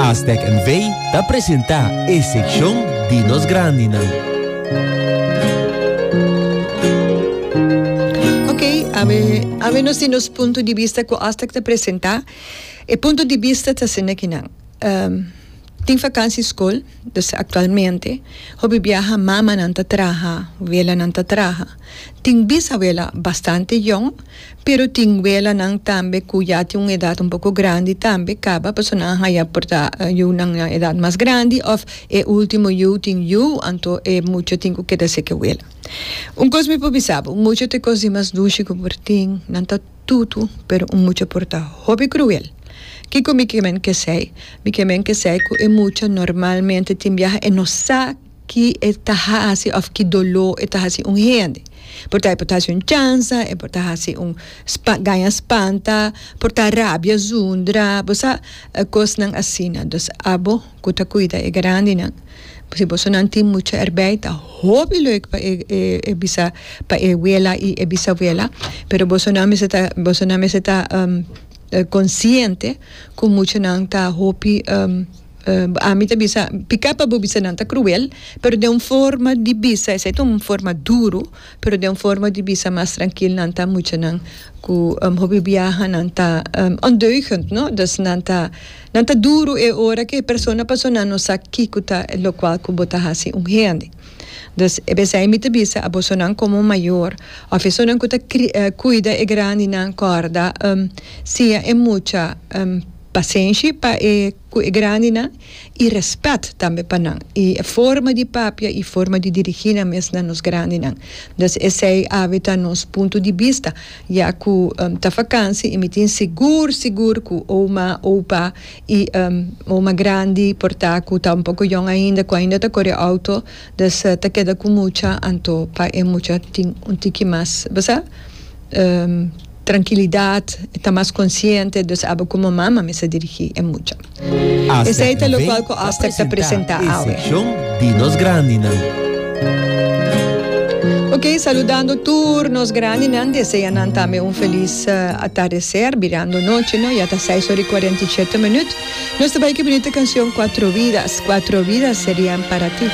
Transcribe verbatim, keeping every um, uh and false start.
Astec N V ta presentá e sekshon di nos grandinan. Ok, awe, awe nos tin nos punto di bista ku Astec ta presentá. E punto di bista ta asina kinan. Um, tin vakantie skol, dus aktualmente, hopi biaha mamanan ta traha, welanan ta traha. Tin bisawela bastante yong, pero tin welanan tambe ku ya tin un edat un poko grandi tambe kaba, pasobra nan a haya por ta yunan na edat mas grandi òf e último yu tin yu, anto e mucha tin ku keda seke wela. Un kos mi por bisa bo, un mucha ta e kos di mas dushi ku por tin, nan ta tutu, pero un mucha por ta hopi kruel. Kiko mi ke men kesei? Mi ke men kesei ku e mucha normalmente tin biaha e no sa ki e ta hasi òf ki doló e ta hasi un hende. Por ta e por ta hasi un chansa, e por ta hasi un gaña spanta, por ta rabia zundra, bo sa, kosnan asina. Dus abo ku ta kuida e grandinan, si bosonan tin mucha erbij ta hopi leuk pa e e bisa pa e wela i e bisawela, pero bosonan mester ta bosonan mester ta konsiente ku muchanan ta hopi. Ami ta bisa, piká pa bo bisa nan ta kruel, pero den un forma di bisa, esei ta un forma duru, pero den un forma di bisa mas trankil nan ta muchanan ku hopi biaha nan ta ondeugend, no? Dus nan ta nan ta duru e ora ku e persona pasobra nan no sa kiko ta lokual ku bo ta hasi un hende. Dus e besei mi ta bisa abosonan komo mayor òf esunnan ku ta kuida e grandinan kòrda siña e mucha pasenshi pa e ku e grandinan i rèspèt tambe pa nan i e forma di papia i forma di dirigí nan mes na nos grandinan. Dus esei awe ta nos punto di bista ya ku ta fakansi i mi tin sigur sigur ku oma, opa i oma grandi por ta ku ta un poko yòn ainda ku ainda ta kore outo dus ta keda ku mucha anto pa e mucha tin un tiki mas bo sa. Trankilidat, e ta mas konsiente, dus abo komo mama mester dirigí e mucha. Esei ta Astec lokual ku N V ta Astec ta presentá presentá e awe. sekshon di nos grandinan. Ok, saludando tur nos grandinan, desea nan tambe un felis atardeser, birando nochi no, ya ta seis ora i kuarenta i shete minüt. Nos ta bai ku e bunita kanshon Cuatro Vidas, Cuatro Vidas Serían Para Ti.